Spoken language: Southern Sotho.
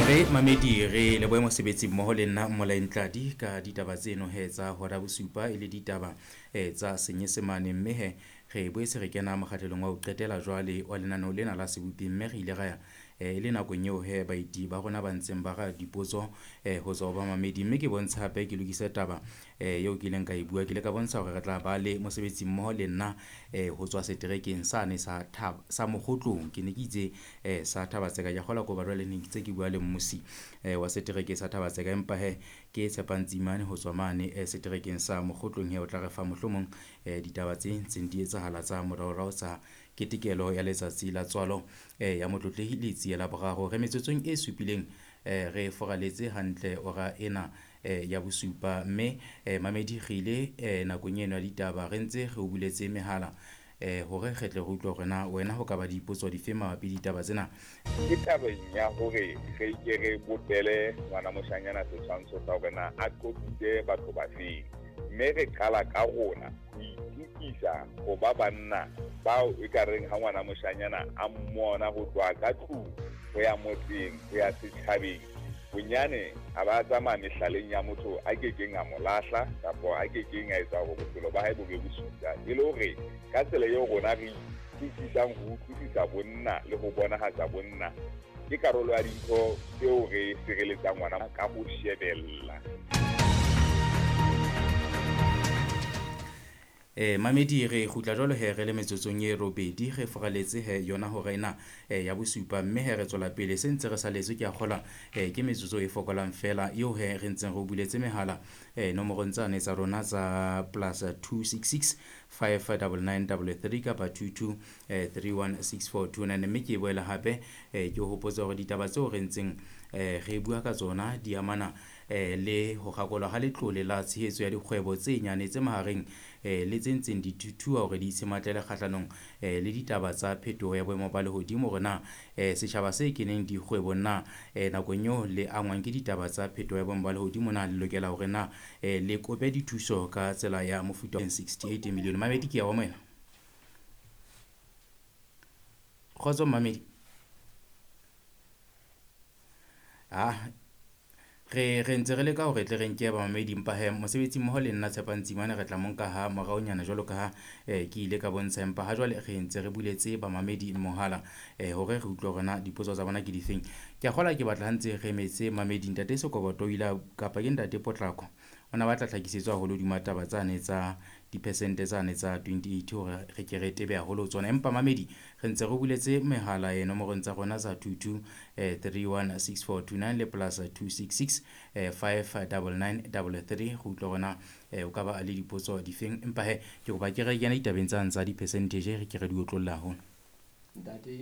Re mamedi re lebohe mosebetsi mmoho le nna Mmolai Ntladi ka ditaba tseno he tsa hora bosupa e le ditaba tsa Senyesemane. Mme he re boetse re kena mokgahlelong wa ho qetela jwale wa lenaneo lena la Sebopi, mme re ile ra ya e le nakong eo he baeti ba rona ba ntseng ba ra dipotso ho tswa ho bamamedi. Mme ke bontsha hape ke lokise taba eo ke ileng ka e bua. Ke ile ka bontsha hore re tla ba le mosebetsi mmoho le nna ho tswa seterekeng sane sa Thaba sa Mokgotlong. Ke ne ke itse sa Thaba-Tseka, ke a kgolwa ke hoba jwale ne ntse ke bua le mmusi wa setereke sa Thaba-Tseka. Empa hee ke Tshepang Tsimane ho tswa mane seterekeng sa Mokgotlong he o tla re fa mohlomong ditaba tse ntseng di etsahala tsa moraorao tsa ketekelo ya letsatsi la tswalo ya Motlotlehi Letsie la Boraro. Re metsotsong e supileng re furaletse hantle hora ena ya bosupa. Mme mamedi re ile nakong eno ya ditaba re ntse re o buletse mehala hore re tle re utlwe hore na wena ho ka ba dipotso dife mabapi le ditaba tsena. Ke tabeng ya hore re ke re bopele ngwana moshanyana setshwantsho sa hore na a qotsitse batho ba feng, mme re qala ka rona ho itukisa ho ba banna bao e ka reng ha ngwana moshanyana a mmona ho tloha ka tlung ho ya motseng ho ya setjhabeng, bonyane a ba tsamaya mehlaleng ya motho a kekeng a mo lahla kapa a kekeng a etsa hore bophelo ba hae bo be bosula. E le hore ka tsela eo rona re itukisang ho utlwisisa bonna le ho bonahatsa bonna, ke karolo ya dintho tseo re sireletsang ngwana ka ho shebella. Mamedi re kgutla jwalo he re le metsotsong e robedi re furaletse he yona hora ena ya bosupa, mme he re tswela pele se ntse re saletswe ke a kgolwa ke metsotso e fokolang fela eo he re ntseng re o buletse mehala nomorong tsane tsa rona tsa plus 266 599 33 kapa 22 316429. Mme ke boela hape ke o hopotsa hore ditaba tseo re ntseng re bua ka tsona di amana le ho kgakolwa ha letlole la tshehetso ya dikgwebo tse nyane tse mahareng le tse ntseng di thuthuha hore di itshematlela kgahlanong le ditaba tsa phetoho ya boemo ba lehodimo. Hore na setjhaba se keneng dikgwebong na nakong eo le angwang ke ditaba tsa phetoho ya boemo ba lehodimo na le lokela hore na le kope dithuso ka tsela ya mofuta 68 million. Mamedi ke ya wa moena. Kgotso mamedi. Ah, re ntse re leka hore tle re nke bamamedi, empa he mosebetsi mmoho le nna Tshepang Tsimane re tla mo nka ha moraonyana jwalo ka ha ke ile ka bontsha. Empa ha jwale re ntse re buletse bamamedi mohala hore re utlwe hore na dipotso tsa bona ke difeng. Ke a kgolwa ke batla ha ntse re emetse mamedi. Ntate Sekoboto o ile a kapa ke ntate Potlako, o na batla tlhakisetso haholo hodima taba tsane tsa diphesente tsane tsa 28 hore re ke re tebe haholo ho tsona. Empa mamedi re ntse re buletse mehala nomorong tsa rona tsa 22 316429 le plus 266 599 33 re utlwe hore na o ka ba le dipotso difeng. Empa he ke kopa ke re kena ditabeng tsane tsa di-percentage re ke re di otlolla haholo. Ntate.